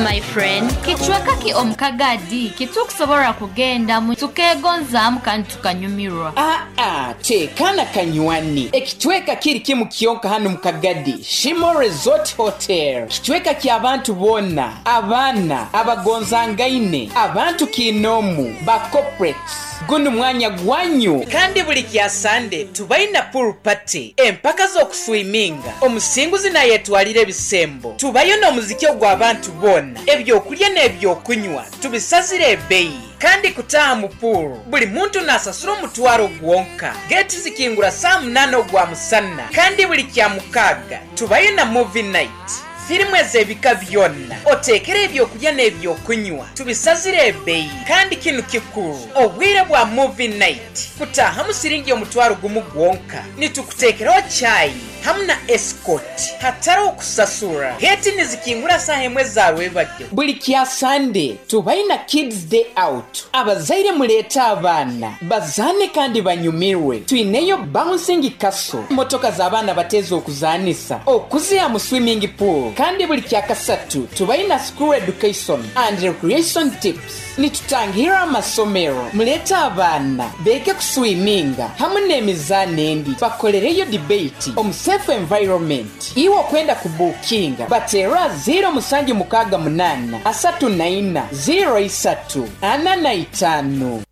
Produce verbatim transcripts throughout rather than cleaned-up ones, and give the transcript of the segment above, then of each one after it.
My friend, kicweka ki omu Kagadi kitukusobora kugendamu tukegonzaamu kandi tukanyumirwa? Aa, tekana kanywani, ekicweka kiri kimu kyonka hanu mu Kagadi, Shimo Resort Hotel, kicweka ky'abantu boona, abaana abagonzangaine, abantu kiinoomu ba corporates. Gunu mwanya gwanyu. Kandi buli kya Sande tubaina pool party, empaka z'okuswiminga, omusinguzi nayetwalira ebisembo. Tubayo n'omuziki ogw'abantu boona, ebyokulya n'ebyokunywa tubisazire ebbeyi. Kandi kutaaha mu pool buli muntu nasasura omutwaro gwonka. Geeti zikingura saa munana ogwa musana. Kandi buli kya mukaaga tubayo na movie night, firimu ez'ebika byona, oteekere ebyokulya n'ebyokunywa tubisazire ebbeyi. Kandi kinu kikuru, obwire bwa movie night kutaahamu siringi omutwaro gumu gwonka, nitukuteekeraho chai hamu na escort hatariho kusasura. Geeti nizikingura saaha emwe za rwebagyo. Buli kya Sande tubaina kids day out, abazaire muleete abaana bazaane kandi banyumirwe. Twineyo bouncing castle, motoka z'abaana bateeza okuzaanisa okuziha mu swimming pool. Kandi buli kya kasatu tubaina school education and recreation tips, nitutangira amasomero, muleete abaana beege kuswiminga hamu n'emizaano endi, bakolereyo debate omu safe environment. Iwe okwenda kubuukinga bateera ziro musanju mukaaga munaana asatu na ina ziro isatu ana na itaano.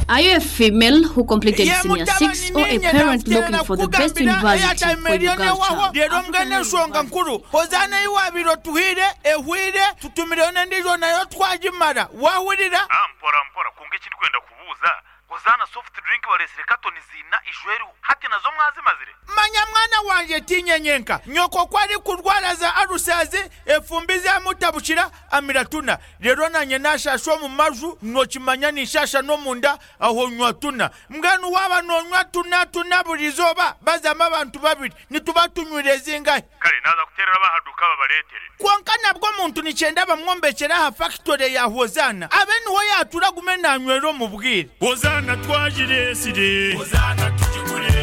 Are you a female who completed senior six or a parent looking for the best university for your girl child? Leero mbwenu enshonga nkuru, Hozaana ei waabaire otuhaire ehweire, tutumireyo n'endiijo nayo twagimara. Waahurira? Ah, mpora mpora, kwonka eki ndikwenda kubuuza, Hozaana soft drink bareetsire katoni ziina ijo eriho, hati nazo mwazimazire? Manya mwana wangye tiinye nyenka. Nyoko ku arikurwara za alusazi, efumbi zamutabukira, amira tuna. Reero naanye naashaasha omu maju, nookimanya ninshaasha n'omunda, aho nywa tuna. Mbwenu waaba noonywa tuna tuna buri izooba, bazamu abantu babiri, nituba tunywire zingahi? Kare naaza kuteerera ab'aha duuka babareetere. Kwonka nabwo omuntu nikyenda bamwombekyere aha fakitore ya Hozaana, abe niho yaatuura agume naanywera omu bwire. Hozaana twagireetsire. Hozaana tugigure.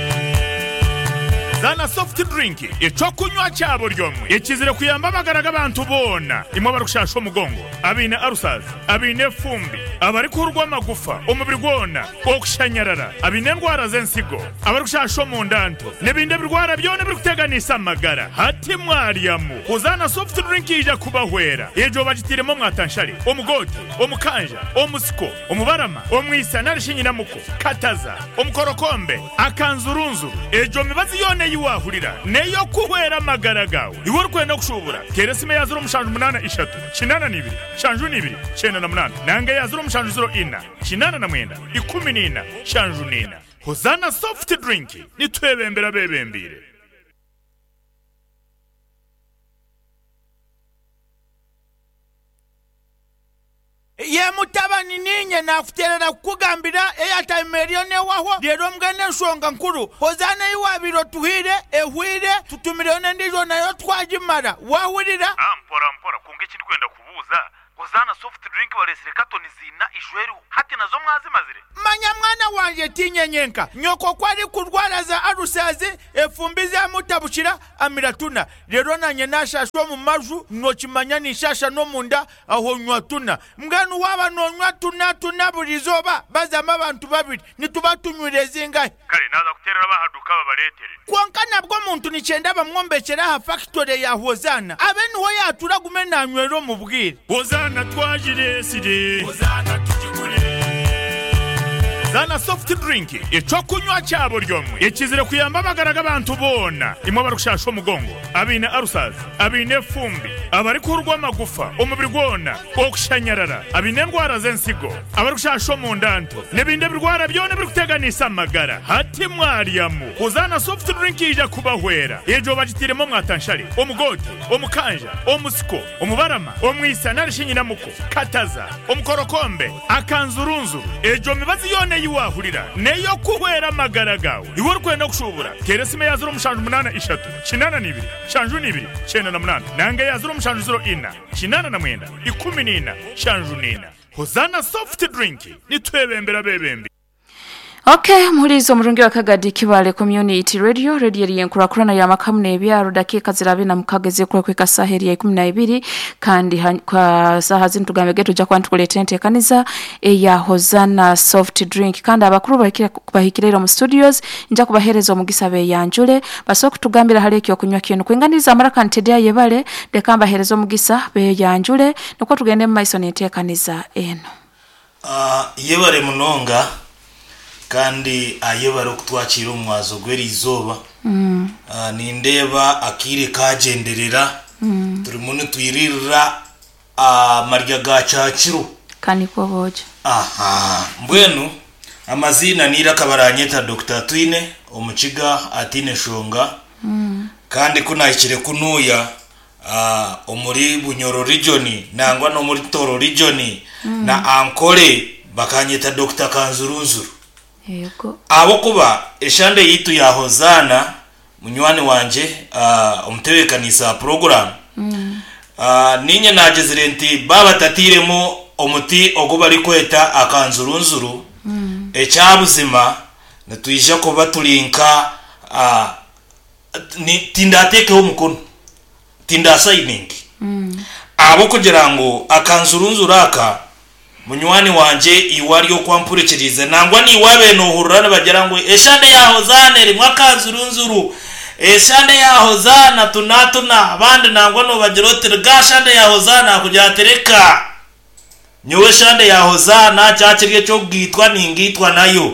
Zana soft drink, ekyokunywa kya buri omwe, ekizire kuyamba amagara g'abantu boona, imwe abarikushasha omugongo, abaine ulcers, abaine efumbi, abarikuhurwa amagufa omubiri gwona, okushanyarara, abaine endwara z'ensigo, abarikushasha omunda nto, n'ebindi ebirwara byona ebirikuteganisa amagara. Hati mwaryamu, Hozaana soft drink yaija kubahwera. Egyo bagitairemu omwatanshare, omugoote, omukanja, omusiko, omubarama, omwisa nari shi nyinamuko, kataza, omukorokombe, akanzurunzuru. Egyo mibazi yoona ei waahurira n'ey'okuhwera amagara gaawe. Iwe orikwenda kushuubura, teera esimu eya ziro mushanju munaana ishatu, kinaana na ibiri, nshanju na ibiri, kyenda na munaana, nanga eya ziro mushanju ziro ina, kinaana na mwenda, ikumi na ina, nshanju na ina. Hozaana soft drink, nitwebembera abeebembeire. Ye mutabani, niinye naakuteerera kukugambira airtime eriyo neehwaho, reero mbwenu enshonga nkuru, Hozaana ei waabaire otuhaire ehweire, tutumireyo n'endiijo nayo twagimara. Waahurira? Ah, mpora mpora, kwonka eki ndikwenda kubuuza, Hozaana soft drink bareetsire katoni ziina ijo eriho, hati nazo mwazimazire? Manya mwana wangye tiinye nyenka. Nyoko ku arikurwara za alusazi, efumbi zamutabukira, amira tuna. Reero naanye naashaasha omu maju, nookimanya ninshaasha n'omunda, aho nywa tuna. Mbwenu waaba noonywa tuna tuna buri izooba, bazamu abantu babiri, nituba tunywire zingahi? Kare naaza kuteerera ab'aha duuka babareetere. Kwonka nabwo omuntu nikyenda bamwombekyere aha fakitore ya Hozaana, abe niho yaatuura agume naanywera omu bwire. Hozaana twagireetsire. Hozaana tugigure. Zana soft drink, ekyokunywa kya buri omwe, ekizire kuyamba amagara g'abantu boona, imwe abarikushasha omugongo, abaine ulcers, abaine efumbi, abarikuhurwa amagufa omubiri gwona, okushanyarara, abaine endwara z'ensigo, abarikushasha omunda nto, n'ebindi ebirwara byona ebirikuteganisa amagara. Hati mwaryamu, Hozaana soft drink yaija kubahwera. Egyo bagitairemu omwatanshare, omugoote, omukanja, omusiko, omubarama, omwisa nari shi nyinamuko, kataza, omukorokombe, akanzurunzuru. Egyo mibazi yoona ei waahurira n'ey'okuhwera amagara gaawe. Iwe orikwenda kushuubura, teera esimu eya ziro mushanju munaana ishatu, kinaana na ibiri, nshanju na ibiri, kyenda na munaana, nanga eya ziro mushanju ziro ina, kinaana na mwenda, ikumi na ina, nshanju na ina. Hozaana soft drink, nitwebembera abeebembi. Okay, muhulizo omurungi wa Kagadi Kibale Community Radio, radio eri enkurakurana ya makamu n'ebyaro dakiika zirabe na mukaga ezikura kwika saha eri ya ikumi na ibiri kandi ha- kwa saha zino tugambe getu tujja kuba nitukuleetera enteekaniza eya Hosanna soft drink kandi abakuru bahikire bahikire mu studios nja kubahereza omugisa beyanjule basobola kutugambira hali ekyokunywa kinu kwinganiza amaraka ntedya yebale leka mbahereza omugisa beyanjule nukwo tugende mu maiso n'enteekaniza eno. Ah, yebare munonga kandi ayebare okutwakira omwazo gw'erizooba. Mm. Ah, nindeeba akaire kagyenderera Mm. turimu nitwiririra amarya ga kyakiro. Kanikwo bojo. Aha, mbwenu amaziina niira akabaranyeta Dr Twine omukiga atiine shonga. Mm. Kandi kunahikire kunuuya ah, omuri Bunyoro region nangwa n'omuri Toro region Mm. na Ankole bakanyeta Dr Kanzurunzuru. Yego. Ahabwokuba eshande yitu ya Hosanna munywani wanje uh, omutebeekanisa program Mm. uh, ninye nagizire nti babatatiiremu omuti ogu barikweta akanzurunzuru. Mm. Ekyabuzima nitwija kuba turi nka uh, ni- tindateekeho omukono, tindasayiningi. Mm. Ahabwokugira ngu akanzurunzuru aka munywani wanje iwe ari okwampurikirize nangwa niwe abe nohurura nibagira ngu eshande ya Hosanna erimu akanzurunzuru, eshande ya Hosanna tunatuna abandi nangwa nobagira oti ga shande ya Hosanna kugira ati reka nyowe eshande ya Hosanna kyakiri ekyokugitwa ningitwa nayo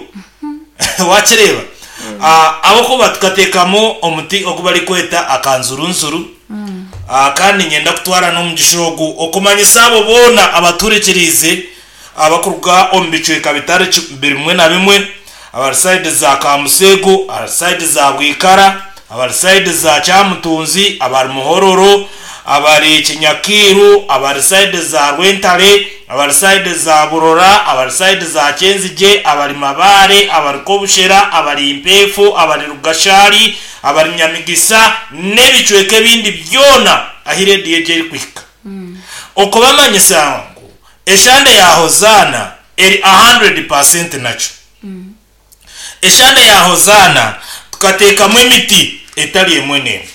wakireeba. Ah, ahabwokuba tukateekamu omuti ogu barikweta akanzurunzuru. Mm. Ah, kandi nyenda kutwara n'omugisha ogu okumanyisa abo boona abaturikirize abakuruga omu bicweka bitari ki- bimwe na bimwe, abari sayidi za Kamusego, abari sayidi za Bwikara, abari sayidi za Kyamutunzi, abari Muhororo, abari Kinyakiru, abari sayidi za Rwentare, abari sayidi za Burora, abari sayidi za Kyenzigye, abari Mabare, abari Kobushera, abari Impefu, abari Rugashari, abari Nyamigisa n'ebicweka ebindi byona ahu rediyo egyo erikuhika. Mm. Okubamanyisa ngu eshande ya Hosanna eri kikumi nakyo. Mm. Eshande ya Hosanna tukateekamu emiti etari emwe n'emwe,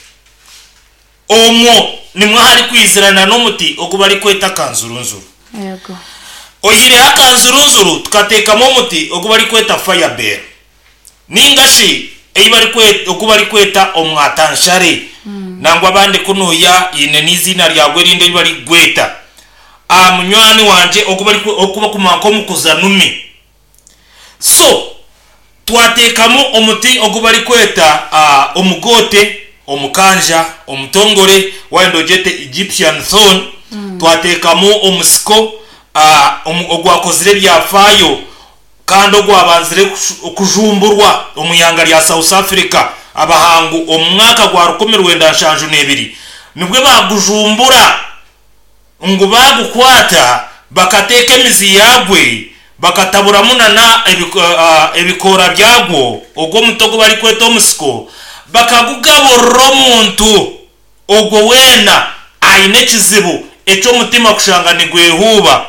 omwo nimwo hari kwizirana n'omuti ogu barikweta akanzurunzuru. Yego. Oyihireho akanzurunzuru tukateekamu omuti ogu barikweta firebell ningashi ei barikweta ogu barikweta omwatanshare. Mm. Nangwa abandi kunuya yine n'izina ryagwe erindi eri barigweta. Ah, munywani wanje ogu bari- ogu bakumanya nk'omukuzanumi. So twateekamu omuti ogu barikweta ah, omugote, omukanja, omutongore wayenda ogyete Egyptian thorn. Mm. Twateekamu omusiko ah, omu- ogwakozire ebyafaayo kandi ogwabanzire kushu- okujumburwa omu ihanga rya South Africa abahangu omu mwaka gwa rukumi rwenda nshanju n'ebiri nibwe bagujumbura ngu bagukwata bakateeka emizi yagwe bakataburamu nana ebiko- ah, ebikoora byagwo ogwo omuti ogu barikweta omusiko bakagugaburira omuntu ogwo weena aine ekizibu eky'omutima kushanga nigwehuuba,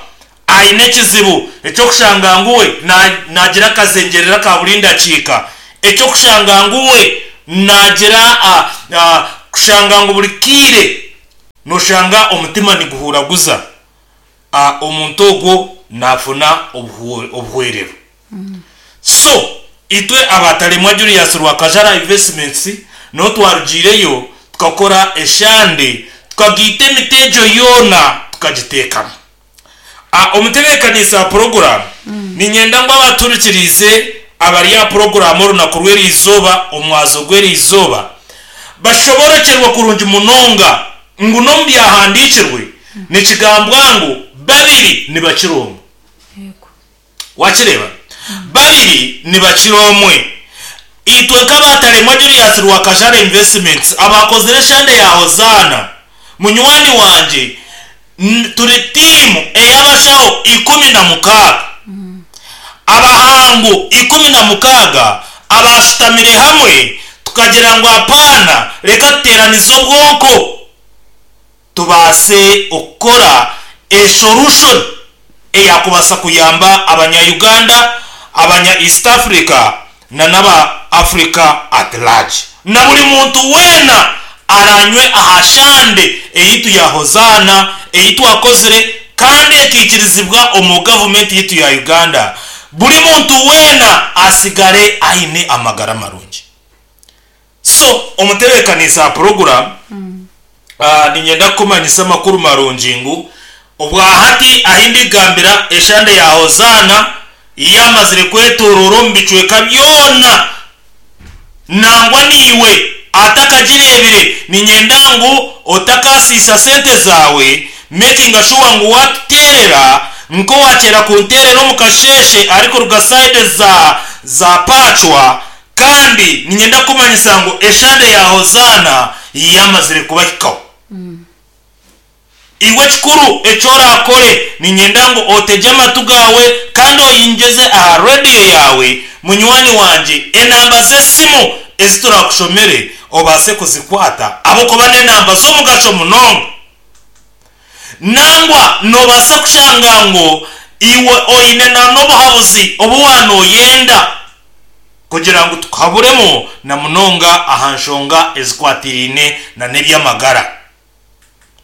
aine ekizibu ekyokushanga nguwe na- nagira akazengerera ka buri ndakiika, ekyokushanga nguwe nagira ah, ah, kushanga ngu buri kiire noshanga omutima niguhuraguza. Ah, omuntu ogwo nafuna obuhu- obuhwerero. So itwe abataremwa Julius Rwakajara Investments niho twarugiireyo tukakora eshande tukagiita emiti egyo yoona tukagiteekamu. Ah, omutebeekanisa wa poroguramu niinyenda ngu abaturikirize abari aha poroguramu orunaku rw'erizooba omwazo gw'erizooba bashoborokyerwe kurungi munonga ngu n'omu byahandiikirwe nikigambwa ngu babiri nibakira omwe. Yego. Wakireeba babiri nibakira omwe. Itwe nk'abataremwa Julius Rwakajara Investments abakozire eshande ya Hosanna munywani wanje n- turi tiimu ey'abashaho ikumi na mukaaga, abahangu ikumi na mukaaga abashutamire hamwe tukagira ngu apaana reka tuteeranize obwonko tubaase okukora esolution eyakubasa kuyamba abanya-Uganda, Abanya East Africa na n'aba Africa at large, na buri muntu weena aranywe aha shande eyitu ya Hozaana eyi twakozire kandi ekiikirizibwa omu gavumenti yitu ya Uganda, buri muntu weena asigare aine amagara marungi. So omutebeekanisa program, mm. uh, ninyenda kukumanyisa amakuru marungi ngu obwahati ahindigambira eshande ya Hozaana yamazire kwetorora omu bicweka byona, nangwa niiwe atakagirebire. Ninyenda ngu otakasiisa sente zawe, making sure ngu watuterera nko wakera kunterera omu kasheshe arikuruga side za za pachwa. Kandi ninyenda kumanyisa ngu eshande ya Hozaana yamazire kubahikaho. mm. Iwe kikuru ekyorakore, ninyenda ngu otege amatu gawe kandi oyinjeze aha rediyo yawe. Munywani wanje, enamba z'esimu eziturakushomere obase kuzikwata abokuba n'enamba z'omugasho munonga. Nangwa nobasa kushanga ngu iwe oine na n'obuhabuzi obu wanoyenda kugira ngu tukaburemu na munonga aha nshonga ezikwatirine na n'ebyamagara.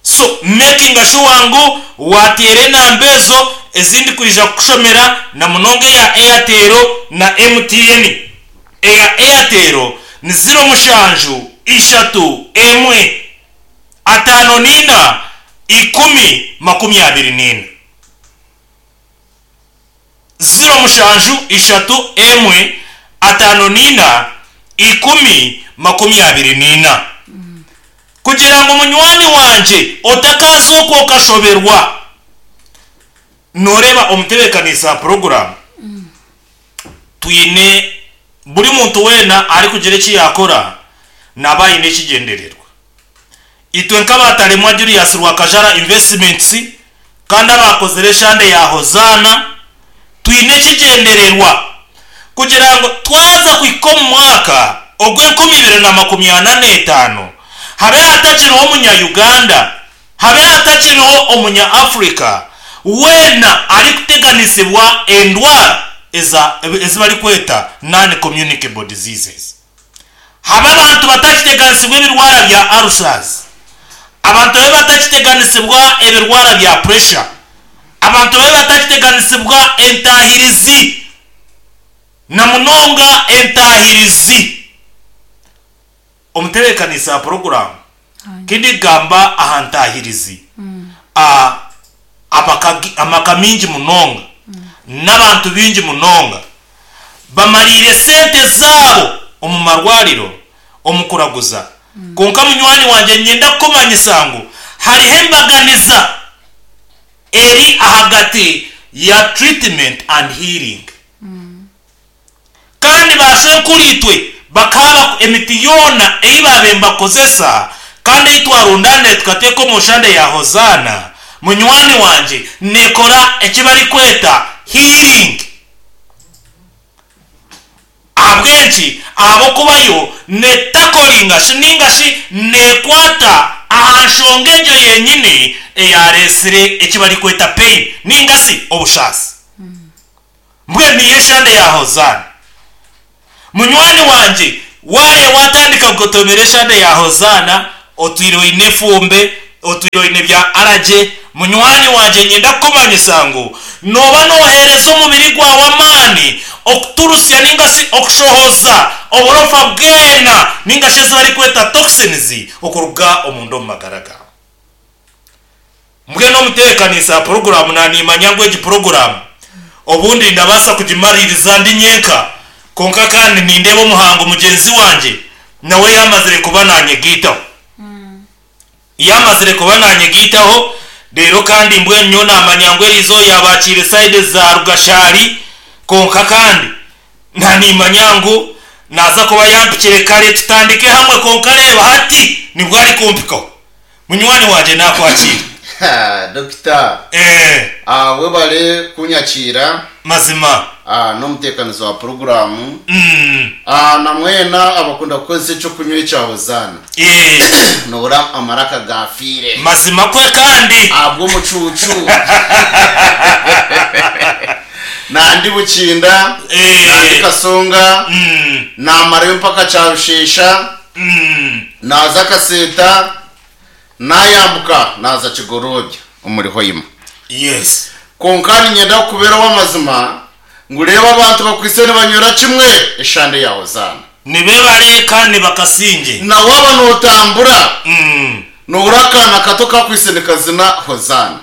So making sure ngu wateera enamba ezo ezindi kwija kukushomera, na munonga eya Airtel na M T N. Eya Airtel ni ziro mushanju ishatu emwe atano nina ikumi makumi abiri nina. Ziro mushanju ishatu emwe atano nina ikumi makumi abiri nina. Mm. Kugira ngo munywani wanje otakaza okwo okashoberwa, noreba omutebeekanisa program. Mm. Twine buri muntu wena ari kugira eki yakora naba aine ekigendererwa. Itwe nk'abatalemwa Julius Rwakajara Investments kandi abakozire eshande ya Hozaana, twine ekigendererwa kugira ngo twaza kuhika omu mwaka ogw'enkumi ibiri na makumi ana n'etaano habe hatakiriho omunya-Uganda, habe hatakiriho omunya-Africa weena arikuteganisibwa endwara ezibarikweta non-communicable diseases. Habe abantu batakiteganisibwa ebirwara bya ulcers, abantu babe batakiteganisibwa ebirwara bya pressure, abantu babe batakiteganisibwa entahirizi na munonga entahirizi. Omutebeekanisa program kindigamba aha ntahirizi, mm. a amaka mingi munonga, mm. n'abantu bingi munonga bamarire sente zabo omu marwariro omu kuraguza. Mm. Konka munywani wanje nyenda kukumanyisa ngu hariho embaganiza eri ahagati ya treatment and healing. Mm. Kandi bashenkuritwe bakaba emiti yona eyi babembakozesa kandi itwarundane tukateka omushande ya Hozaana. Munywani wanje nekora ekibari kweta healing. Abwenki abokubayo netakolinga shininga shi nekwata aha nshonga egyo yenyini eyaresire ekibari kweta pain ninga si obushasi. Mm. Mbwe niyo eshande ya Hozaana. Munywani wanje ware watandika kugotomera eshande ya Hozaana otwire oine efumbe, otwire oine bya araje. Munywani wanje nyenda kukumanyisa ngu noba nohereza omubiri gwawe amaani okuturusya ninga si okushohoza oburofa bwena ninga shi ezibarikweta toxins okuruga omunda omu magara gawe. Mbwenu omutebeekanisa poroguramu nanimanya ngu egi poroguramu obundi ndabaasa kugimaririza ndi nyenka, konka kandi nindeba omuhango mugyenzi wanje nawe yamazire kuba nanyegiitaho. Mm. Yamazire kuba nanyegiitaho rero kandi mbwenu nyo namanya ngu erizo yabakiire side za Rugashari, konka kandi nanimanya ngu naza kuba yampikire kare tutandike hamwe, konka reba hati nibwo ari kumpikaho. Munywani wanje nakwakira. Dokita, eh ah webale kunyakira mazima ah n'omuteekanizo wa poroguramu. Mm. Ah namwena abakunda kukozesa ekyokunywa ekya Hozaana. Eh nobura amaraka gafiire mazima kwe kandi abw'omucuucu. Nandi Bukinda, Eh. nandi Kasonga, Mm, namarayo mpaka Kyarushesha, mm. naza Kaseta, nayambuka naza Kigorobya omuri Hoima. Yes. Konka ninyenda kukuberaho amazima ngureba abantu bakwise nibanyura kimwe eshande ya Hozana. Nibebare kandi bakasinge. Na waba notambura Mm. nubura akana kato kakwise nikazina Hozana.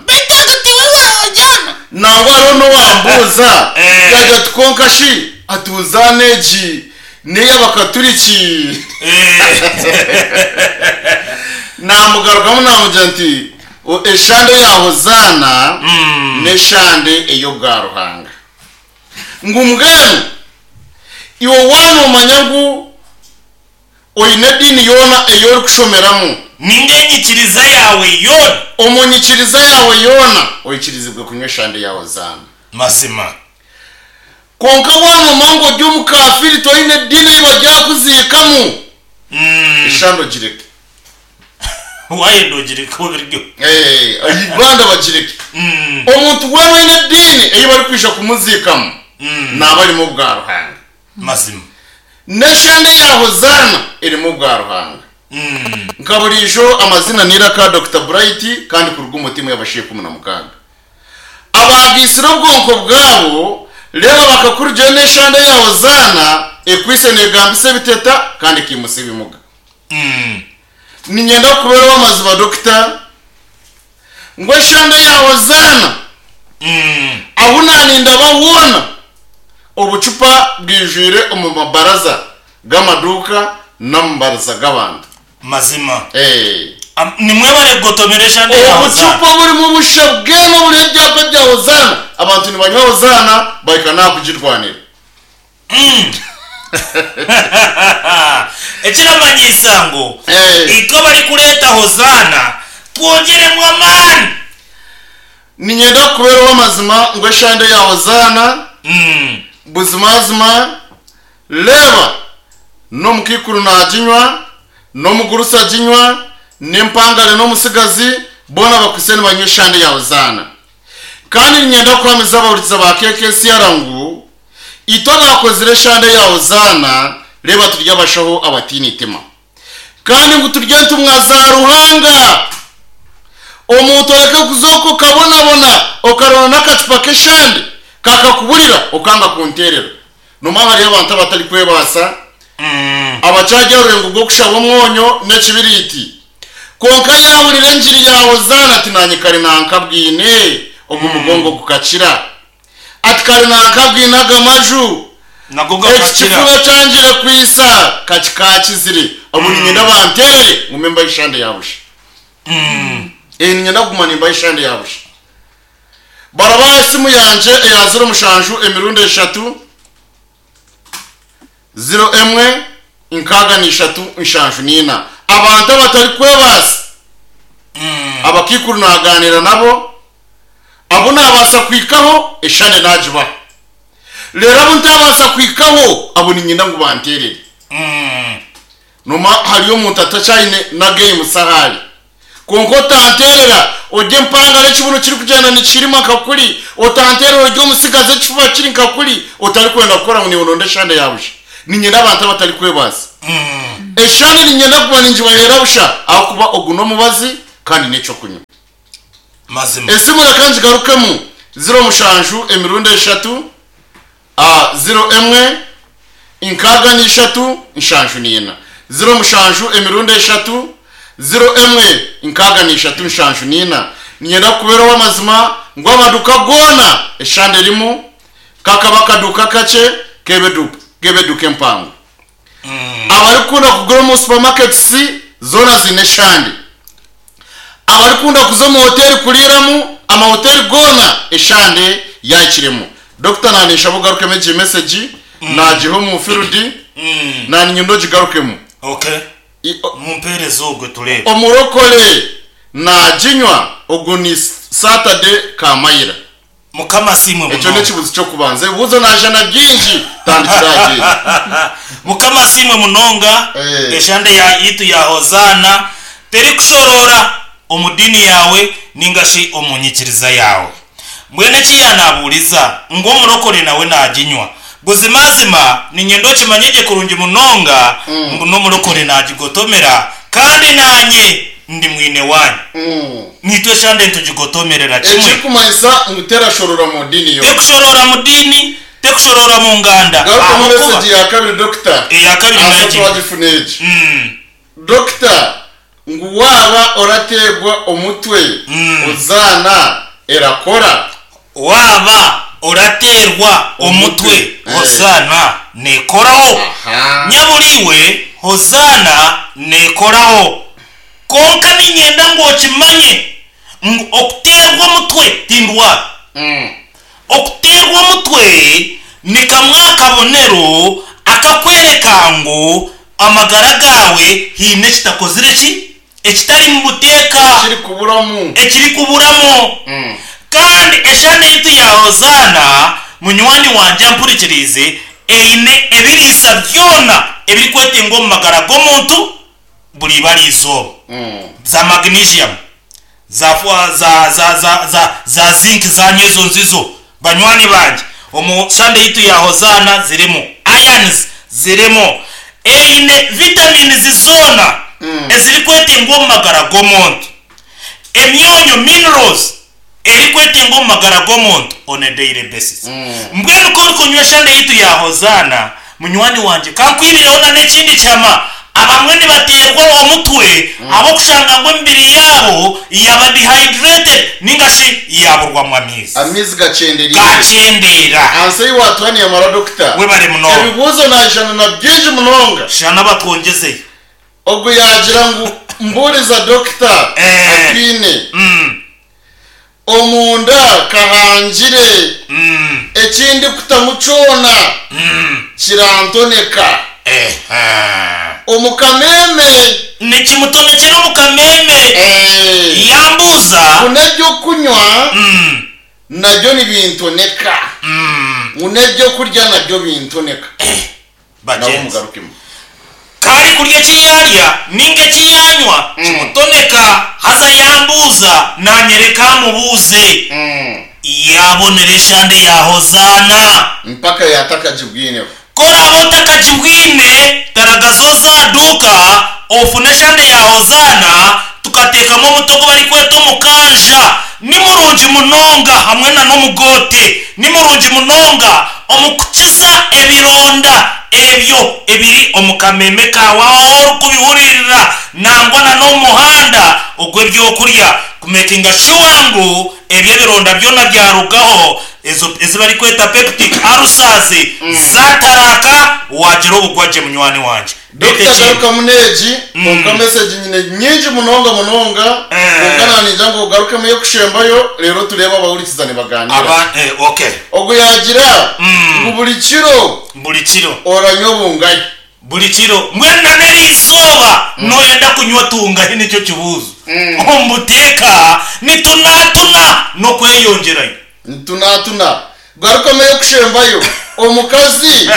Nangwa hariho n'owambuuza Eh. yagira ati konka shi ati Hozana egi n'ey'abakaturiki. Eh. Namugarukamu namugira nti "O- eshande ya Hozana Mm. n'eshande ey'obwa Ruhanga. Ngu mbwenu iwe wanomanya ngu oine ediini yoona ei orikushomeramu, Ninga enyikiriza yawe yoona. omu nyikiriza yawe yoona oikirizibwe kunywa eshande ya Hozana. Mazima. Konka wanomanya ngu ori omukafiri toine ediini ei baryakuziikamu, Mm. eshande ogireke. Wayenda ogireke obiryo. Eh, Uganda bagireke. Mm. Omuntu weena oine ediini ei barikwija kumuziikamu Mm. naaba arimu obwa Ruhanga. Mazima. N'eshande ya Hozana erimu obwa Ruhanga. Mm. Nka burijo amazina niraka Doctor Bright kandi kuruga umutima y'abashiye kumi na mukaaga. Abagisire obwonko bwabo reba bakakurugyo n'eshande ya Hozana ekwise negambisa ebiteta kandi ekimusa ebimuga. Mm. Ninyenda kuberaho amazima Doctor ngu eshande ya Hozana Mm. ahu naninda bahuona obucupa bwijwire omu mabaraza g'amaduuka n'amabaraza g'abantu. Mazima. Eh. Am- Nimwebare kugotomera eshande ya Hozana. Obucupa burimu obusha bwema buriho ebyapa bya Hozana, abantu nibanywa Hozana bahika nakugirwanira. Mm. Ekiramanyisa ngu Eh. iko bari kureeta Hozana twongeremu amaani. Ninyenda kuberaho amazima ngu eshande ya Hozana Mm. buzimazima reba n'omukikuru naginywa n'omugurusi aginywa n'empangare n'omusigazi boona bakwise nibanywa eshande ya Hozana. Kandi ninyenda kuhamiza abahurikiza ba K K C R ngu itwe abakozire eshande ya Hozana reba turye abashaho abatiine itima, kandi ngu turye entumwa za Ruhanga. Omuntu areke kuzoka okabonabona okarona n'akacupa k'eshande kakakuburira okanga kunterera. Noma hariyo abantu abatari kwebaasa, Mm. abakyajya orurengo rw'okushaba omwonyo n'ekibiriti, konka yahurira enjiri ya Hozana ati nanye kare nankabwine ogu mugongo gukakira, ati kare nankabwine aga maju Nago eki gakakira. kifuba kyangire kwisa kakikakizire obu ninyenda banterere ngume mbahe eshande ya busha. Mm. Eh, ninyenda kuguma nimbaha eshande ya busha. Barabaha esimu yangye eya ziro mushanju emirundi eshatu ziro emwe nkaaga n'ishatu nshanju n'ina. Abantu abatari kwebaasa, Mm. abakikuru naganira nabo, abo nabaasa kwikaho eshande nagibaha. Rero abo ntabaasa kwikaho abo ninyenda ngu banterere. Mm. Noma hariyo omuntu atakyayine na game sahari, konka otanterera orye empangare ekibuno kirikugyenda nikirima nka kuri, otanterera orye omusigazi ekifuba kiri nka kuri, otarikwenda kukora ngu niiwe oronde eshande ya busha. Ninyenda abantu abatari kwebaasa. Mm. Eshande ninyenda kuba ningibahera busha ahakuba ogu n'omubazi kandi n'ekyokunywa. Mazima. Esimu reka ngigarukemu ziro mushanju emirundi eshatu a ziro emwe nkaaga n'ishatu nshanju n'ina. Ziro mushanju emirundi eshatu ziro emwe nkaaga n'ishatu nshanju n'ina. Ninyenda kuberaho amazima ngu amaduka goona eshande erimu kakaba akaduka kakye kebeduka kebeduka empango. Mm. Abarikukunda kugura omu supermarkets zoona ziine eshande. Abarikukunda kuza omu hoteri kuriiramu, amahoteri goona eshande yakiremu. Doctor nanisha ogarukemu egi message nagiha omu field Mm. naninyenda ogigarukemu. Okay. I- o- Mumpereze ogwe turebe. Omurokore naginywa ogu ni Saturday Kamayira. Mukama simwe Ekyo munonga. n'ekibuzo ky'okubanza. Ebibuzo najana byingi tandikira agenda. Mukama simwe munonga. Eh. Eshande ya yitu ya Hozana terikushorora omu dini yawe ningashi omu nyikiriza yawe. Mbwenu ekiyanabuuriza ngu omurokore nawe naginywa. Buzimazima ninyenda okimanye gye kurungi munonga ngu n'omurokore nagigotomera kandi nanye ndi mwine wanyu. Nitwe eshande nitugigotomerera kimwe. Ekirikumanyisa ngu terashorora mu dini yo. Tekushorora mu dini, tekushorora mu nganda. Garuka mu Ahabwokuba- message ya kabiri dokita. Eya kabiri Asa nagi. twagifuna egi. Mm. Dokita ngu waba orategwa omutwe ozaana erakora. Waba oraterwa omutwe Omutwe. hosana nekoraho. Aha. Nyaburiwe hosana nekoraho. Konka ninyenda ngu okimanye ngu okuterwa omutwe tindwara. Mm. Okuterwa omutwe ni kamwe akabonero akakwereka ngu amagara gawe hiine ekitakozire ki ekitari mu buteeka Ekiri kuburamu. ekiri kuburamu. Mm. Kandi eshana yitu ya hozana munywani wanje ampurikirize eine ebiriisa byona ebirikwetenga omu magara g'omuntu buri ibara izooba. Mm. Za magnesium za fwa- za za za za za zinc za nyezo nzizo banywani banje omu sande yitu ya hozana zirimu irons zirimu eine vitamins zona Mm. ezirikwetengwa omu magara g'omuntu emyonyo minerals erikwetengwa omu magara g'omuntu on a daily basis. Mm. Mbwenu ko orikunywa eshande yitu ya hozana munywani wanje kankwibireho na n'ekindi kyama abamwe nibaterwa omutwe abokushanga ngu emibiri yabo yaba dehydrated ningashi yaburwamu amaizi Amaizi gachenderire. gachendera. Anse yiwatwaniye mara dokita. Webare munonga. Ebibuuzo najana na byingi munonga. Shana batwongezeyo. Ogu yagira ngu mburiza dokita Eh. Atwine. Mm, Omunda kahangire mm, ekindi kutamu kyona mm. kirantoneka. Eh, ah. Omukameme Nikimutonekera omukameme. eh, Yambuuza. ngu n'ebyokunywa Mm, nabyo nibintoneka. mm. Ngu n'ebyokurya nabyo bintoneka. Nabo Bagenzi. mugarukemu. Kari kurya ekiyarya ninga ekiyanywa kimutoneka haza yambuuza nanyereka amubuuze. Mm. Yabonera eshande ya hozana. Mpaka yatakagibwineho. Koraba otakagibwine taragazo zaduka ofune eshande ya hozana tukateekamu omutogo barikweta omukanja. Ni murungi munonga hamwe na n'omugote. Ni murungi munonga omukukiza ebironda ebyo ebiri omu kameme kawe aho orikubihuririra nangwa na n'omuhanda ogw'ebyokurya kumekinga sure ngu ebyo ebironda byona byarugaho ezo ezibarikweta peptic ulcers zataraka wagira obugwagye munywani wanje. Dokita Bete ki? garuka munegi konka message nyine nyingi munonga munonga Eh. konka naninja ngu ogarukemu yokushembayo rero turebe abahurikiza nibaganira. Aba eh, okay. Ogu yagira Mm. ngu buri kiro buri kiro oranywa obungayi. Buri kiro mbwenu na n'erizooba noyenda kunywa tungahi nicyo kibuuzo. Omubuteeka nitunatuna n'okweyongyerayo. Ntunatuna. Garukamu yokushembayo omukazi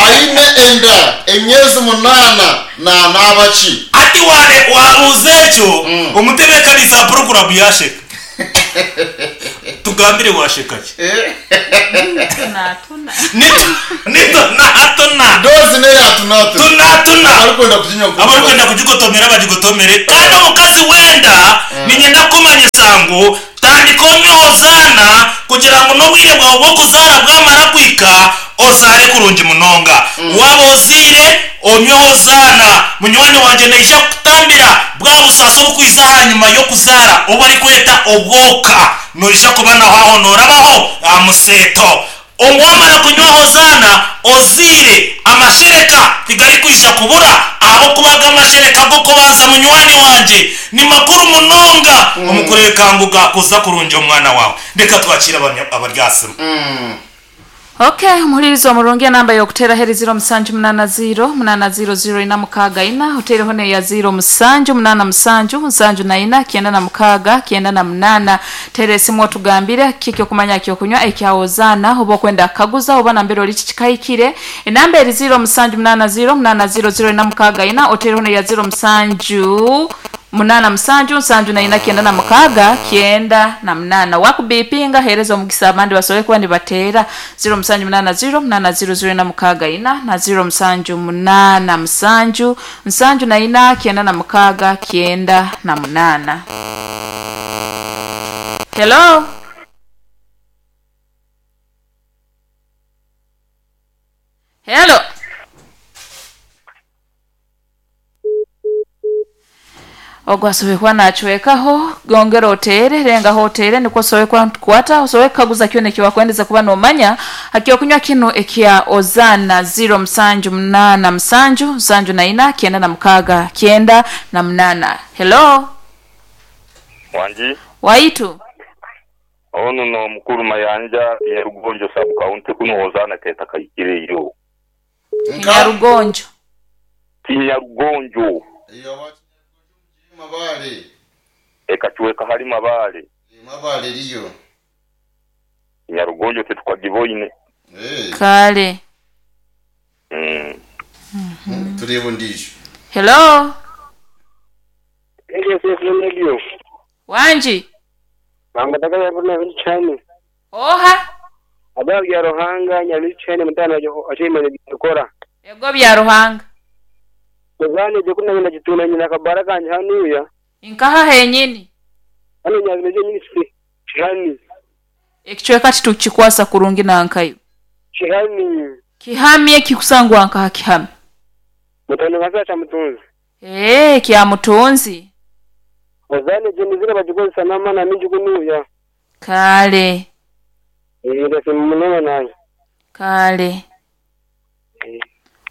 aine enda emyezi munaana nanaaba ki? Ati ware wabuuza ekyo omutebeekanisa wa poroguramu yasheka. Tugambire washeka ki? Tunatuna. Nitu- nitunatuna. Dozi neyatunatuna. Tunatuna. Abarikwenda kuginywa Abarikwenda kugigotomera bagigotomere. Kandi omukazi wenda ninyenda kumanyisa ngu tandika onywe hozana kugira ngu n'obwire bwawe bw'okuzaara bwamara kwika ozaare kurungi munonga. Waba oziire onywe hozana munywani wanje naija kukutambira bwa busaasi obukwiza ahanyuma y'okuzaara obu barikweta obwoka noija kuba naho aho noorabaho aha museeto. Owamara kunywa hozana oziire amashereka tigarikwija kubura ahabwokuba amashereka g'okubanza munywani wanje ni makuru munonga omukureka ngu gakuza kurungi omwana wawe. Reka twakire abanya- abaryasimu. Okay, muhulirizi omurungi enamba y'okutera heri ziro musanju munana ziro munana ziro ziro ina mukaaga ina otereho neya ziro musanju munana musanju nsanju na ina kyenda na mukaaga kyenda na munana. Tera esimu otugambire kiki okumanya kyokunywa ekyawozana oba okwenda kukaguza oba nambere ori kikikahikire. Enamba eri ziro musanju munana ziro munana ziro ziro ina mukaaga ina otereho neya ziro musanju munana musanju nsanju na ina kyenda na mukaga kyenda na munana wakubipinga hereza omugisa abandi basobole kuba nibateera zero musanju munana zero munana zero zero na mukaga ina na zero musanju munana musanju nsanju na ina kyenda na mukaga kyenda na munana. Hello. Hello. Ogwasobe kuba nachwekaho gongera otere renga hotere niko sobe kwa kukwata osobe kaguza kyo nekyo wakwendeza kuba nomanya hakio kunywa kino ekya ozana zero msanju munana msanju msanju na ina kyenda na mukaga kyenda na munana. Hello. Wanji waitu ono no mukuru mayanja Nyarugonjo sub county kuno ozana keta kayikireyo Nyarugonjo Nyarugonjo iyo mabale ekachuweka hali mabale mabale liyo Nyarugonjo tetukagiboine eh kale mm mm -hmm. Turebo ndisho. Hello. Hello. Wanji Bangataka yabona bichani. Oha Aba ya Ruhanga nyabichani mutana achimanye gikora. Yego bya Ruhanga. Muzane je kuna nyina nyina kabaraka hanuya. Inkaha henyini. Hano nyabimeje nyini kihani. Ekichweka kitukikwasa kurungi na nkayo. Kihani. Kihamye kikusangwa nkaha kihami. Mutano basa mutunzi. Eh kya mutunzi. Muzane je nizira bajikozesa namana mingi kunuya. Kale. Eh ndasimunona naye. Kale.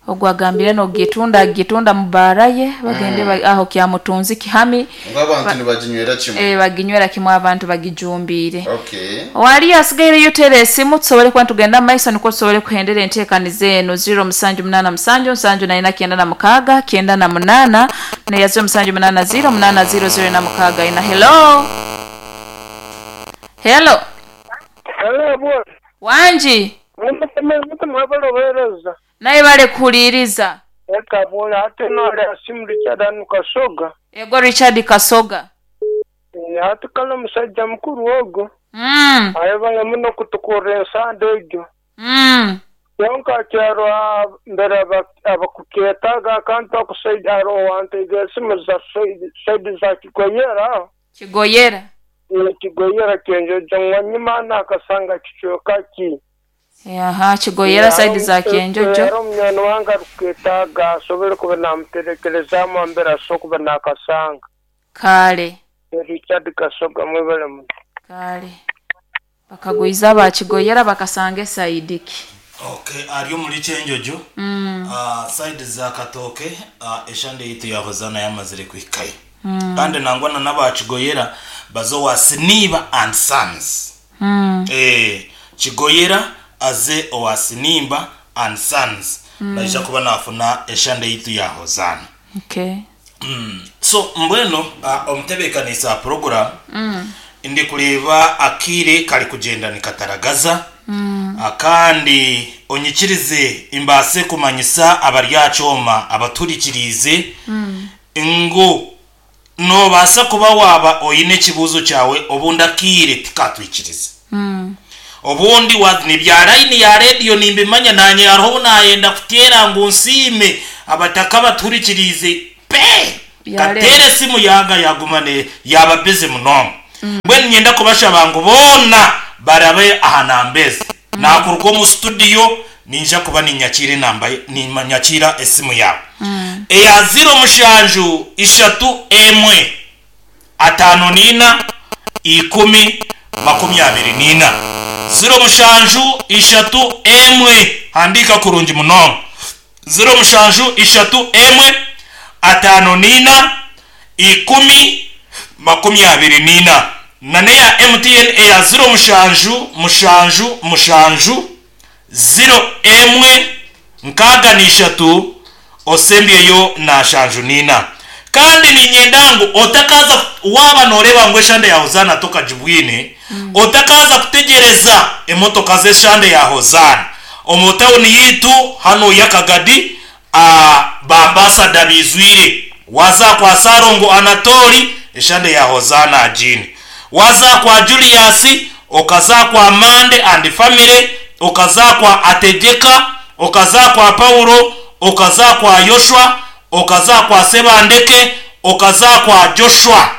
Ogwagambire no gitunda gitunda mubaraye bagende mm. Aho kya mutunzi kihami ngabantu nibaginywera kimwe eh baginywera kimwe abantu bagijumbire. Okay. Wali asigaire yotere esimu tusobole kwa tugenda maiso niko tusobole kuhendera enteekaniza eno zero musanju munana musanju nsanju na ina kyenda na mukaga kyenda na munana na ya zero musanju munana zero munana zero zero na mukaga ina. Hello. Hello. Hello boy. Wanji Mutamabalobeleza naye bale kuliriza eka bola ate nole asimu Richard anu Kasoga. Ego Richard Kasoga ate kala musajja mukuru ogo mm. Ayebale muno kutukura ensande egyo mm. Yonka kyaro mbere abakuketaga akantu akusaija aro wantega esimu za saidi za Kigoyera Kigoyera Kigoyera kenjojo ngwanyima nakasanga kichweka ki Aha Kigoyera side za Kenjojo. Ero mnyano wanga ruketaga asobole kuba namuterekereza ambera so kuba nakasanga. Kale. Richard Kasoga mwebale muno. Kale. Bakagwiza ba Kigoyera bakasanga saidiki. Okay, ari muri Kenjojo. Mm. Ah uh, side za Katoke uh, eshande yitu yahozana yamazire kwikaye. Mm. Kandi nangwana naba Kigoyera bazo wa Siniba and Sons. Mm. Eh Kigoyera aze owasinimba and sons mm. Naija kuba nafuna eshande yitu ya hozana. Okay. Mm. So mbweno uh, omutebekanisa program mm. Ndi kureba akire kali kugenda nikataragaza mm. Akandi onyikirize imbase kumanyisa abaryacoma abaturikirize mm. Ngo no basa kuba waba oyine kibuzo cyawe obundi akire tikatwikirize mm. Obundi wa ni bya line ya radio nimbimanya nanye aho nayenda kutera ngo nsime abataka baturikirize pe katere simu yanga yagumane yaba busy muno mbwe nyenda kubasha bangu bona barabe ahanambeze mm. Nakurwa mu studio ninja kuba ninyakire namba ninyakira esimu yawe mm. Eya zero mushanju ishatu emwe atano nina ikumi makumi abiri nina zero mushanju ishatu emwe handika kurungi muno zero mushanju ishatu emwe atano nina ikumi makumi abiri nina nane ya M T N eya zero mushanju mushanju mushanju zero emwe nkaga ni ishatu osembyeyo na shanju nina kandi ni nyendangu otakaza waba noreba ngo eshande ya hozana toka jibwine mm. Otakaza kutegereza emotoka z'eshande ya hozana omutawuni yitu hano yakagadi a bambasada bizwire Waza kwa Sarongo Anatoli, eshande ya Hozana agine. Waza kwa Julius, okaza kwa Mande and family, okaza kwa Atejeka, okaza kwa Paulo, okaza kwa Yoshua, okaza kwa Sebandeke, okaza kwa Joshua.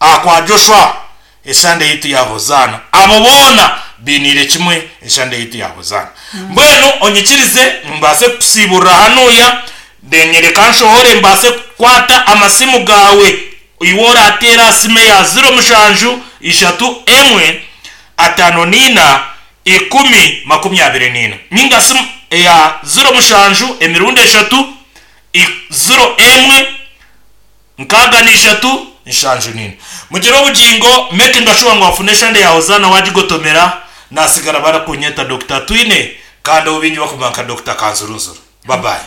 Ah, kwa Joshua esande yitu ya Hozana. Abo bona binire kimwe eshande yitu ya Hozana. Mbwenu onyikirize mbase kusibura hanuya denyereka nshohore mbase kukwata amasimu gawe iwora atera sime ya zero mushanju ishatu emwe atano nina ikumi makumi abiri nina ninga simu ya zero mushanju emirundi eshatu i- zero emwe nkaga ni ishatu nshanju nina mugire obugingo making sure ngo wafune eshande ya Hozana wagigotomera nasigara barakunyeta Doctor Twine kandi obingi bakumanka Doctor Kanzurunzuru. Bye bye.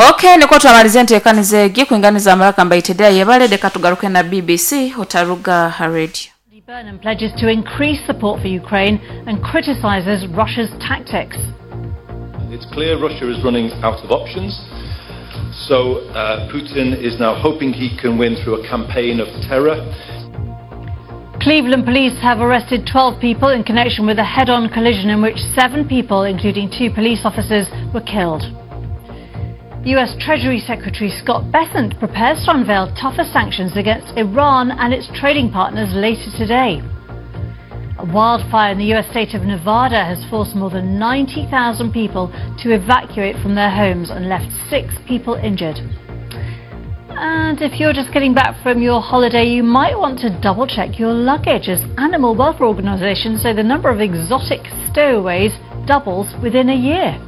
Okay, niko twamalize ntekanize egi kuinganiza amaraka mbaitedea yebale katugaruke na B B C Otaruga Radio. Burnham pledges to increase support for Ukraine and criticises Russia's tactics. It's clear Russia is running out of options. So uh, Putin is now hoping he can win through a campaign of terror. Cleveland police have arrested twelve people in connection with a head-on collision in which seven people, including two police officers, were killed. U S Treasury Secretary Scott Bessent prepares to unveil tougher sanctions against Iran and its trading partners later today. A wildfire in the U S state of Nevada has forced more than ninety thousand people to evacuate from their homes and left six people injured. And if you're just getting back from your holiday, you might want to double check your luggage, as animal welfare organisations say the number of exotic stowaways doubles within a year.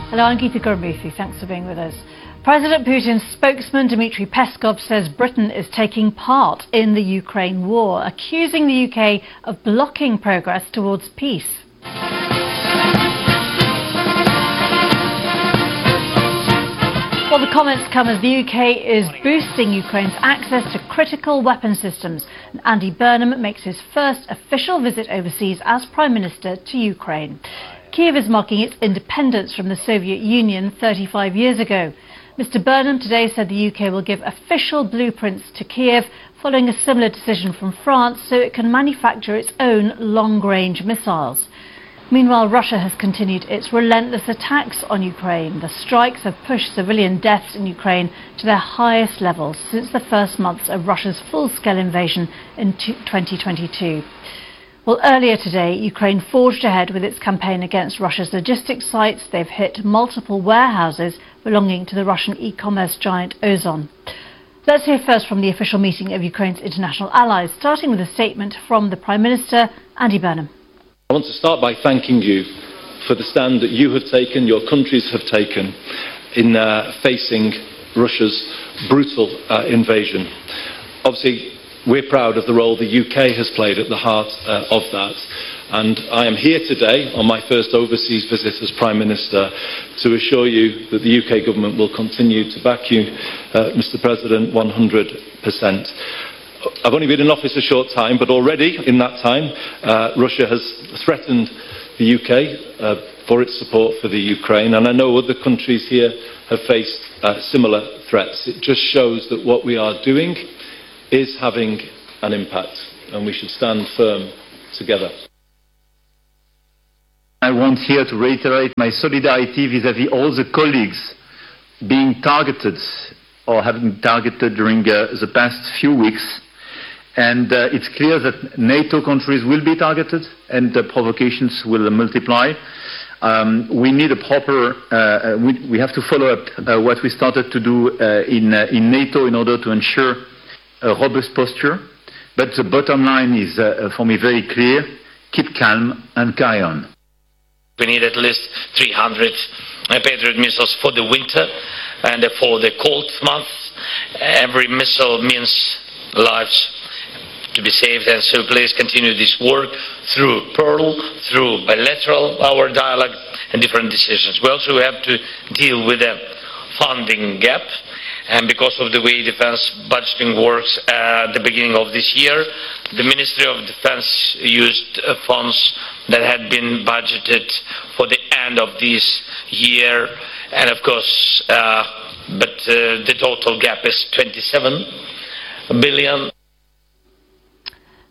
Hello, I'm Geetha Gurumurthy. Thanks for being with us. President Putin's spokesman Dmitry Peskov says Britain is taking part in the Ukraine war, accusing the U K of blocking progress towards peace. Well, the comments come as the U K is boosting Ukraine's access to critical weapon systems. And Andy Burnham makes his first official visit overseas as Prime Minister to Ukraine. Kiev is marking its independence from the Soviet Union thirty-five years ago. Mister Burnham today said the U K will give official blueprints to Kiev following a similar decision from France so it can manufacture its own long-range missiles. Meanwhile, Russia has continued its relentless attacks on Ukraine. The strikes have pushed civilian deaths in Ukraine to their highest levels since the first months of Russia's full-scale invasion in twenty twenty-two. Well, earlier today, Ukraine forged ahead with its campaign against Russia's logistics sites. They've hit multiple warehouses belonging to the Russian e-commerce giant Ozon. Let's hear first from the official meeting of Ukraine's international allies, starting with a statement from the Prime Minister, Andy Burnham. I want to start by thanking you for the stand that you have taken, your countries have taken, in uh, facing Russia's brutal uh, invasion. Obviously, we're proud of the role the U K has played at the heart uh, of that. And I am here today on my first overseas visit as Prime Minister to assure you that the U K government will continue to back you, uh, Mister President, one hundred percent. I've only been in office a short time, but already in that time, uh, Russia has threatened the U K uh, for its support for the Ukraine, and I know other countries here have faced uh, similar threats. It just shows that what we are doing is having an impact, and we should stand firm together. I want here to reiterate my solidarity vis-à-vis all the colleagues being targeted or have been targeted during, uh, the past few weeks. And, uh, it's clear that NATO countries will be targeted and the provocations will multiply. Um, we need a proper, uh, uh, we, we have to follow up, uh, what we started to do, uh, in, uh, in NATO in order to ensure a robust posture. But the bottom line is, uh, for me very clear: keep calm and carry on. We need at least three hundred, uh, Patriot missiles for the winter and for the cold months. Every missile means lives to be saved, and so please continue this work through Pearl, through bilateral, our dialogue, and different decisions. We also have to deal with the funding gap, And because of the way defense budgeting works at the beginning of this year, the Ministry of Defense used uh, funds that had been budgeted for the end of this year. And of course, uh, but uh, the total gap is twenty-seven billion.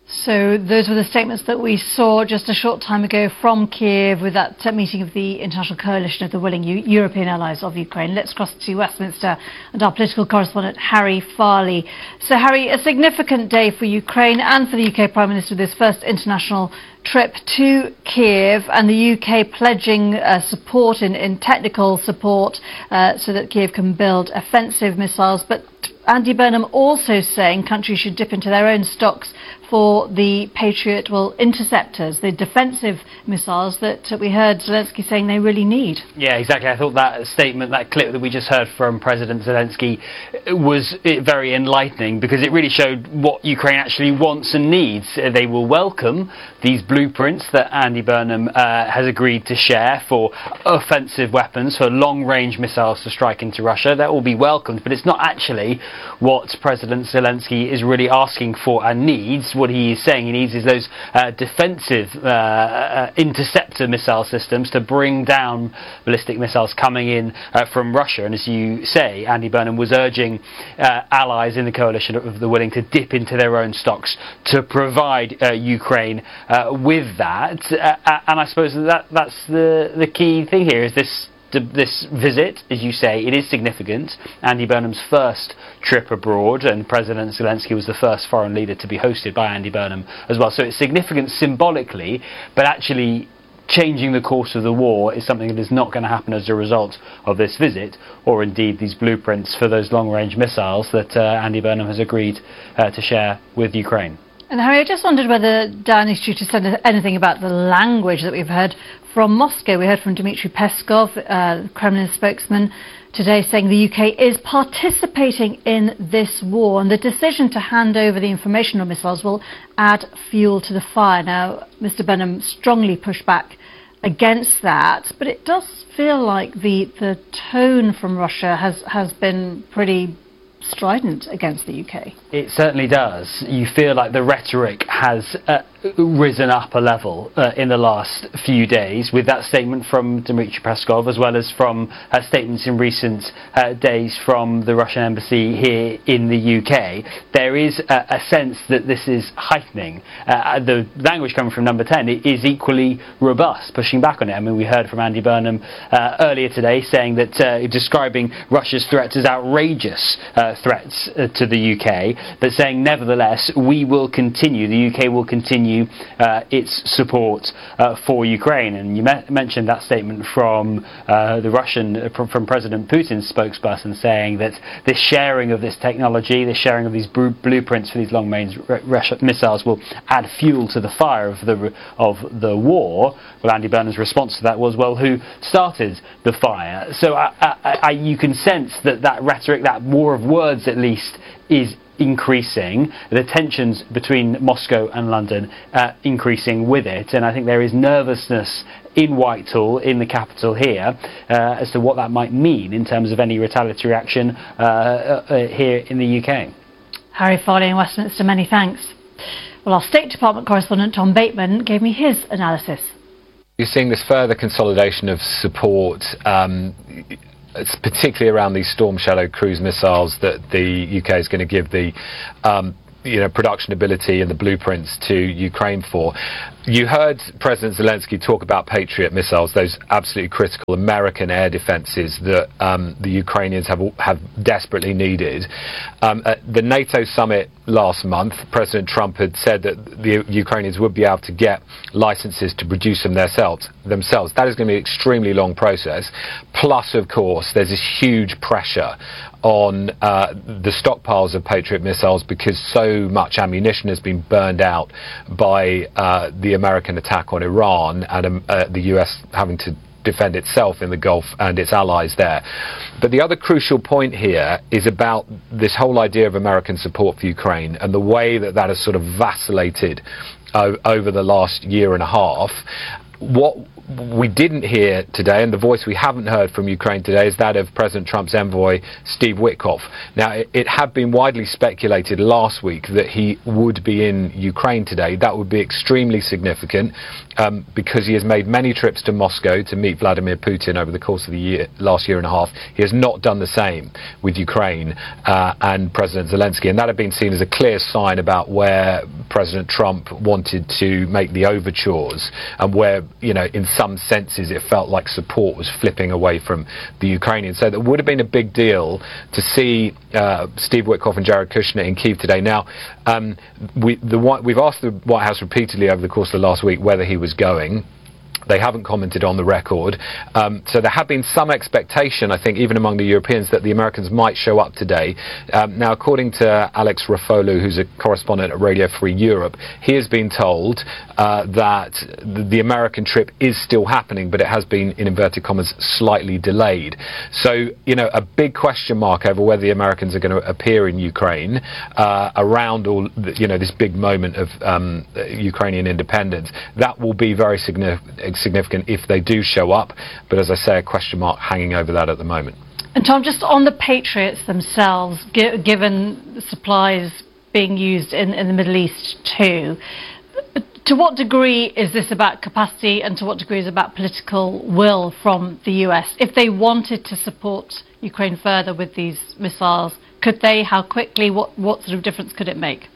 So those were the statements that we saw just a short time ago from Kiev with that meeting of the International Coalition of the Willing U European Allies of Ukraine. Let's cross to Westminster and our political correspondent Harry Farley. So Harry, a significant day for Ukraine and for the U K Prime Minister with his first international trip to Kiev, and the U K pledging uh, support in, in technical support uh, so that Kiev can build offensive missiles. But Andy Burnham also saying countries should dip into their own stocks for the Patriot, well, interceptors, the defensive missiles that we heard Zelensky saying they really need. Yeah, exactly. I thought that statement, that clip that we just heard from President Zelensky was very enlightening, because it really showed what Ukraine actually wants and needs. They will welcome these blueprints that Andy Burnham uh, has agreed to share for offensive weapons, for long-range missiles to strike into Russia. That will be welcomed, but it's not actually what President Zelensky is really asking for and needs. What he is saying he needs is those uh, defensive uh, uh, interceptor missile systems to bring down ballistic missiles coming in uh, from Russia. And as you say, Andy Burnham was urging uh, allies in the coalition of the willing to dip into their own stocks to provide uh, Ukraine uh, with that. Uh, and I suppose that that's the, the key thing here is this This visit, as you say, it is significant. Andy Burnham's first trip abroad, and President Zelensky was the first foreign leader to be hosted by Andy Burnham as well. So it's significant symbolically, but actually changing the course of the war is something that is not going to happen as a result of this visit, or indeed these blueprints for those long-range missiles that uh, Andy Burnham has agreed uh, to share with Ukraine. And Harry, I just wondered whether Downing Street has said anything about the language that we've heard from Moscow. We heard from Dmitry Peskov, uh, Kremlin spokesman, today saying the U K is participating in this war, and the decision to hand over the information on missiles will add fuel to the fire. Now, Mister Burnham strongly pushed back against that, but it does feel like the, the tone from Russia has, has been pretty strident against the U K. It certainly does. You feel like the rhetoric has uh, risen up a level uh, in the last few days with that statement from Dmitry Peskov, as well as from uh, statements in recent uh, days from the Russian embassy here in the U K. There is a, a sense that this is heightening. Uh, the language coming from number ten is equally robust, pushing back on it. I mean, we heard from Andy Burnham uh, earlier today saying that uh, describing Russia's threats as outrageous uh, threats uh, to the U K, but saying nevertheless we will continue, the U K will continue uh, its support uh, for Ukraine. And you me mentioned that statement from uh, the Russian, uh, from, from President Putin's spokesperson, saying that this sharing of this technology, this sharing of these blueprints for these long-range missiles will add fuel to the fire of the of the war. Well, Andy Burnham's response to that was, well, who started the fire? So I, I, I, you can sense that that rhetoric, that war of words at least, is increasing, the tensions between Moscow and London uh, increasing with it, and I think there is nervousness in Whitehall, in the capital here, uh, as to what that might mean in terms of any retaliatory action uh, uh, here in the U K. Harry Farley in Westminster, many thanks. Well, our State Department correspondent Tom Bateman gave me his analysis. You're seeing this further consolidation of support, um, it's particularly around these Storm Shadow cruise missiles that the U K is going to give the um, you know, production ability and the blueprints to Ukraine for. You heard President Zelensky talk about Patriot missiles, those absolutely critical American air defenses that um, the Ukrainians have, have desperately needed. Um, at the NATO summit last month, President Trump had said that the Ukrainians would be able to get licenses to produce them themselves. themselves. That is going to be an extremely long process. Plus, of course, there's this huge pressure on uh, the stockpiles of Patriot missiles because so much ammunition has been burned out by uh, the American attack on Iran and um, uh, the U S having to defend itself in the Gulf and its allies there. But the other crucial point here is about this whole idea of American support for Ukraine and the way that that has sort of vacillated uh, over the last year and a half. What we didn't hear today, and the voice we haven't heard from Ukraine today, is that of President Trump's envoy, Steve Witkoff. Now, it, it had been widely speculated last week that he would be in Ukraine today. That would be extremely significant um, because he has made many trips to Moscow to meet Vladimir Putin over the course of the year, last year and a half. He has not done the same with Ukraine uh, and President Zelensky, and that had been seen as a clear sign about where President Trump wanted to make the overtures and where, you know, in some senses it felt like support was flipping away from the Ukrainians. So that would have been a big deal to see uh, Steve Witkoff and Jared Kushner in Kyiv today. Now, um, we, the, we've asked the White House repeatedly over the course of the last week whether he was going. They haven't commented on the record. Um, so there had been some expectation, I think, even among the Europeans, that the Americans might show up today. Um, now, according to Alex Rafolu, who's a correspondent at Radio Free Europe, he has been told uh, that the, the American trip is still happening, but it has been, in inverted commas, slightly delayed. So, you know, a big question mark over whether the Americans are going to appear in Ukraine uh, around all, the, you know, this big moment of um, Ukrainian independence. That will be very significant. significant if they do show up, but as I say, a question mark hanging over that at the moment. And Tom, just on the Patriots themselves, gi given supplies being used in, in the Middle East too, to what degree is this about capacity and to what degree is it about political will from the U S? If they wanted to support Ukraine further with these missiles, could they? How quickly? What, what sort of difference could it make?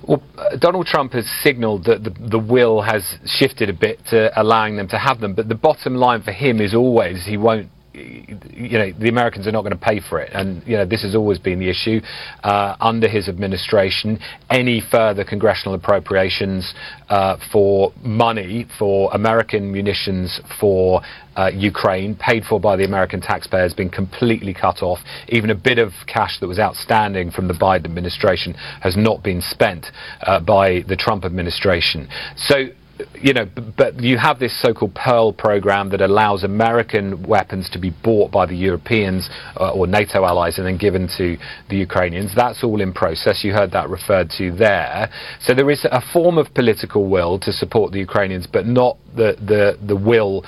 Well, Donald Trump has signalled that the, the will has shifted a bit to allowing them to have them, but the bottom line for him is always he won't, you know, the Americans are not going to pay for it. And, you know, this has always been the issue uh, under his administration. Any further congressional appropriations uh, for money for American munitions for uh, Ukraine, paid for by the American taxpayer, has been completely cut off. Even a bit of cash that was outstanding from the Biden administration has not been spent uh, by the Trump administration. So, you know, but you have this so-called Pearl program that allows American weapons to be bought by the Europeans uh, or NATO allies and then given to the Ukrainians. That's all in process. You heard that referred to there. So there is a form of political will to support the Ukrainians, but not the, the, the will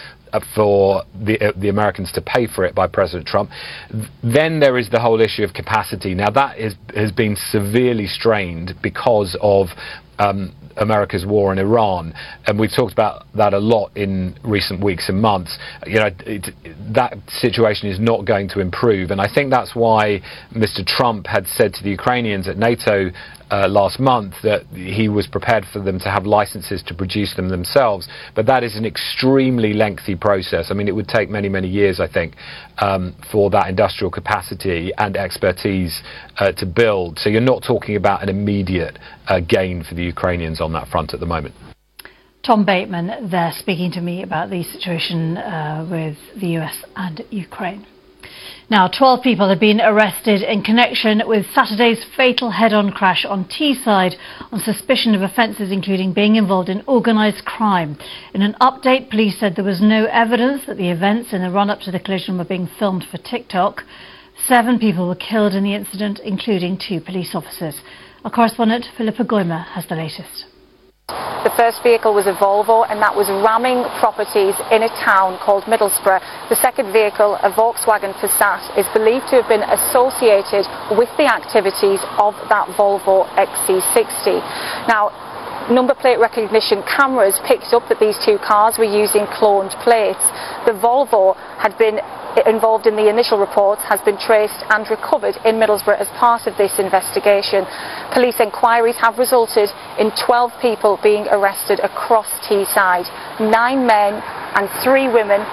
for the, uh, the Americans to pay for it by President Trump. Then there is the whole issue of capacity. Now that is, has been severely strained because of um, America's war in Iran, and we've talked about that a lot in recent weeks and months. You know, it, that situation is not going to improve, and I think that's why Mister Trump had said to the Ukrainians at NATO uh, last month that he was prepared for them to have licenses to produce them themselves. But that is an extremely lengthy process. I mean, it would take many, many years, I think, um, for that industrial capacity and expertise uh, to build. So you're not talking about an immediate uh, gain for the Ukrainians on that front at the moment. Tom Bateman there speaking to me about the situation uh, with the U S and Ukraine. Now, twelve people have been arrested in connection with Saturday's fatal head-on crash on Teesside on suspicion of offences including being involved in organised crime. In an update, police said there was no evidence that the events in the run-up to the collision were being filmed for TikTok. Seven people were killed in the incident, including two police officers. Our correspondent Philippa Goymer has the latest. The first vehicle was a Volvo, and that was ramming properties in a town called Middlesbrough. The second vehicle, a Volkswagen Passat, is believed to have been associated with the activities of that Volvo X C sixty. Now, number plate recognition cameras picked up that these two cars were using cloned plates. The Volvo had been involved in the initial reports, has been traced and recovered in Middlesbrough as part of this investigation. Police inquiries have resulted in twelve people being arrested across Teesside, nine men and three women